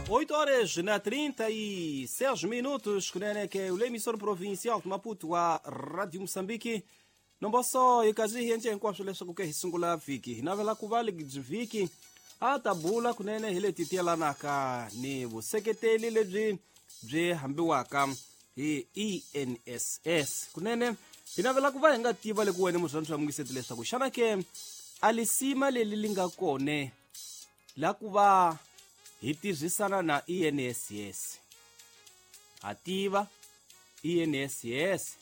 8 horas na 36 minutos, kunene ke ule emissora provincial de Maputo a Rádio Moçambique. Nomboso ikazi hienje hinkwaswo leswaku ke hi sungula vhiki hi navela ku va byi vhiki a ta bula kunene hi leti tiyelanaka ni vuseketeli lebyi byi hambiwaka hi ENSS. Kunene hi navela ku va hi nga tiva le ku wena murhandzi wa mungiseti leswaku xana ke a lisima leli li nga kone la ku va hi tirhisana na ENSS. Ha tiva ENSS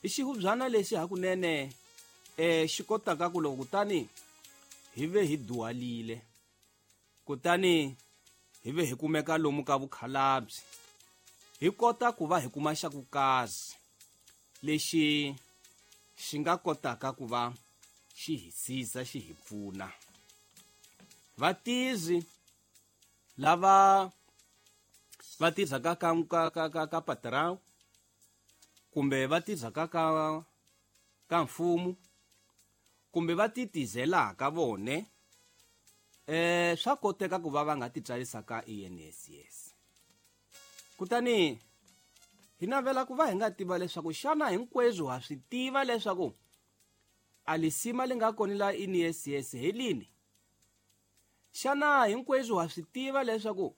i xihubyana lexi hakunene xi kotaka ku loko kutani hi ve hi duhalile, kutani hi ve hi kumeka lomu ka vukhalabye, hi kota ku va hi kuma xa ku kazi lexi xi nga kotaka ku va xi hi siza, xi hi pfuna. Vatirhi lava va tirhaka ka patrão kumbe va tirhaka ka mfumo kumbe va titizelaka vone, swa koteka ku va va nga titsarisa ka ENSS. Kutani hi navela ku va hi nga tiva leswaku xana hinkweswo ha swi tiva leswaku a lisima li nga kona la ENSS hi lini? Xana hinkweswo ha swi tiva leswaku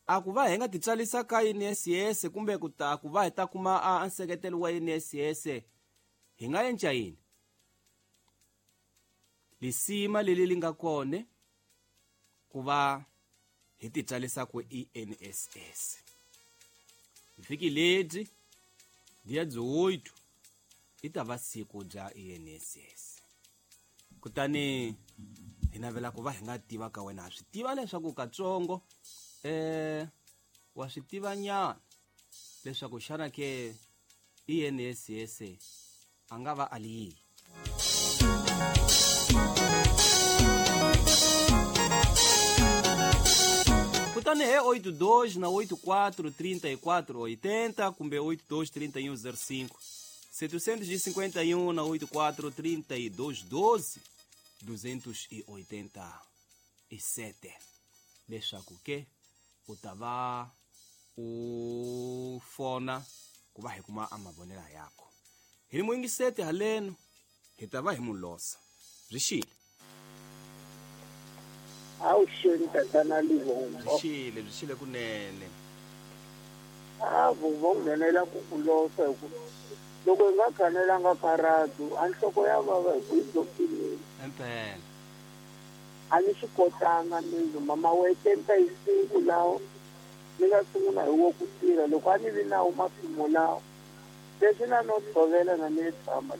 a ku va hi nga titsarisa ka ENSS kumbe ku ta ku va hi ta kuma a nseketelo wa ENSS hi nga endla yini? Lisima leli li nga kona ku va hi titsarisa ku ENSS. Vhiki ledyi dia 18 i ta va siku bya ENSS. Kutani hi navela ku va hi nga tiva ka wena, ha swi tiva leswaku katsongo wa swi tiva nyana leswaku xana ke ENSS a nga va a li yihi. Kutani he 82 na 84 34 80 kumbe 82 31 05 751 na 84 32 12 287 leswaku ke u ta va u fona ku va hi kuma a mavonelo yako. Hi muyingiseti haleno hi ta va hi mulosa. Byi xile. Awuxeni tatana Livombo. Byi xile kunene. A vo nghenela ku kulosa hi ku loko hi nga khanelanga karatu a nhloko ya vava hi ku yi dzokile. Impela. A ni swi kotanga mina mama wa 75 lawo ni nga sungula hi wo ku tirha loko a ni vi nawo mapimo lawo leswi na no tshovela na ni tshama.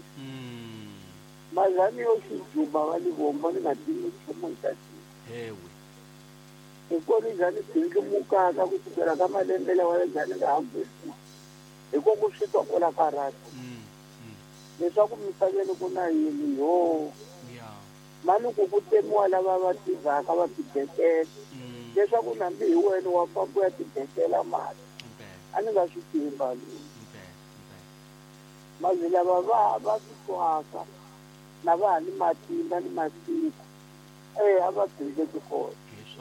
Mazani yo xijuba va Livombo ni nga tivi nchumu hi ta hewe. Hi kona njhani bindlumukaka ku sukela ka malembe lawa ya njhani nga hambisi hi ko ku swi twa kwala karatu. Leswaku misaveni ku na yini yo. Mani ku ku temiwa lava va tivaka va tibekela. Leswaku nambi hi wena wa famba ya tibekela mali. A ni nga swi tivi mali. Mazi lava va swi twaka na va ha ni matimba ni masiku. A va bindleki kona.